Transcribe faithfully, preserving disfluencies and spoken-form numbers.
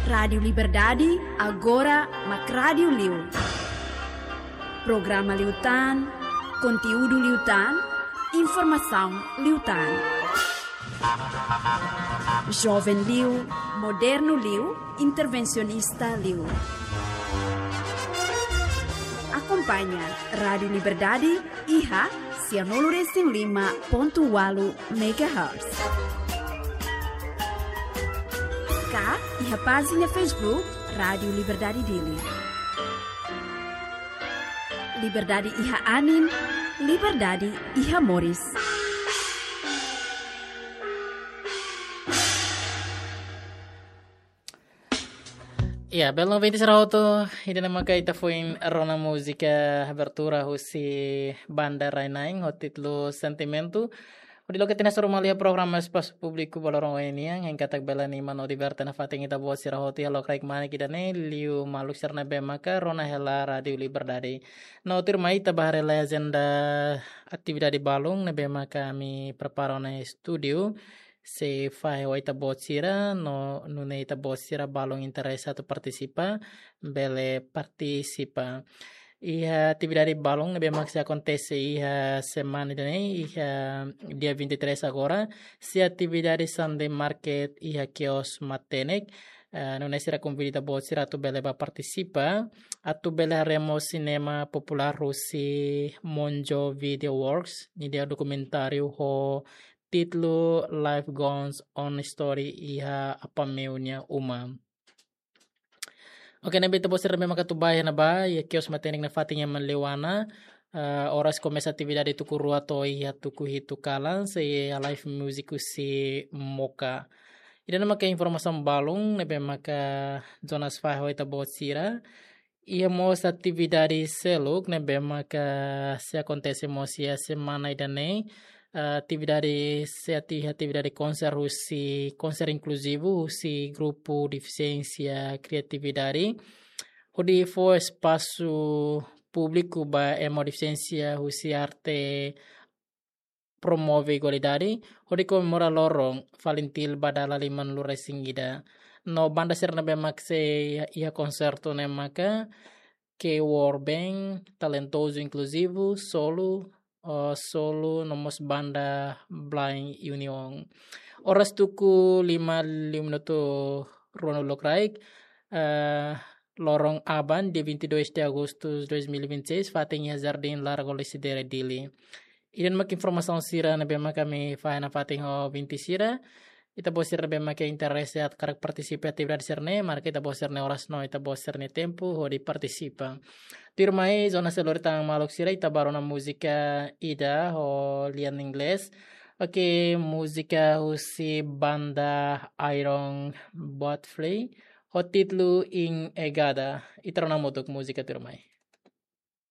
Rádiu Liberdade, agora mak rádiu liu. Programa liután, konteúdu liután, informasaun liután. Joven liu, modernu liu, intervensionista liu. Akompaña Rádiu Liberdade iha sianulu resin lima pontu ualu megahertz. Ka iha pájina Facebook Rádiu Liberdade Dili. Liberdade iha anin, liberdade iha moris. Ya, bel ouvinte sira hotu, ida-ne'e maka ita foin rona múzika abertura husi Banda Rainain, ho títulu Sentimentu. Hodi loke tiha hasoru malu iha programa Espasu Públiku ba loron ohin nian, hein katak bele anima no diverte nafatin ita-boot sira hotu iha lokraik manik ida-ne'e, liu maluk sira ne'ebé maka rona hela Rádiu Liberdade. No tuirmai ita bá haree lai ajenda atividade balun ne'ebé maka ami prepara ona iha estúdiu. Se fahe ho ita-boot sira, no nune'e ita-boot sira balun interese atu partisipa, bele partisipa. Iha atividade balun ne'ebé mak sei akontese iha semana ida-ne'e, iha dia vinte e três agora, sei atividade Sunday Market iha Kios Matenek. Eh, nune'e sira konvida ita-boot sira atu bele bá partisipa, atu bele haree mós sinema populár husi Monjo Video Works, nia dokumentáriu ho títulu Life Goes On Story iha Apameo nia uma. Oke, ne'ebé ita-boot sira ne'ebé maka atu bá iha ne'ebá, iha Kios Matenek nafatin iha Manleuana, eh, oras komesa atividade tuku rua to'o iha tuku hitu kalan, sei iha live music husi Moka. Ida-ne'e maka informasaun balun ne'ebé maka Jonas fahe ho ita-boot sira. Iha mós atividade seluk ne'ebé maka sei akontese mós iha semana ida-ne'e. Eh, atividade sei ati-, atividade konser husi, konser inkluzivu husi grupu Defisiénsia Kriatividade. Hodi fó espasu públiku ba ema ho defisiénsia husi arte promove igualdade, hodi komemora loron FALINTIL ba dala limanulu resin ida. No banda sira ne'ebé mak sei iha konsertu ne'e maka K War Band, Talentozu Inkluzivu, Solu, eh, Solu, no mós banda Blind Union. Oras tuku lima liu minutu ruanulu lokraik, eh, loron aban, dia vinte e dois de agosto de dois mil e vinte e seis, fatin iha Jardim Largo Lecidere Dili. Ida-ne'e mak informasaun sira ne'ebé mak ami fahe nafatin ho ouvinte sira. Ita-boot sira ne'ebé mak interese atu hakarak partisipa atividade sira-ne'e, marka ita-boot sira-nia oras no ita-boot sira-nia tempu hodi partisipa. Tuirmai, Jonas sei lori tan maluk sira, ita bá rona múzika ida ho lian inglés. Oke, múzika husi banda Iron Botflay, ho títulu Ingegada. Ita rona hamutuk múzika tuirmai.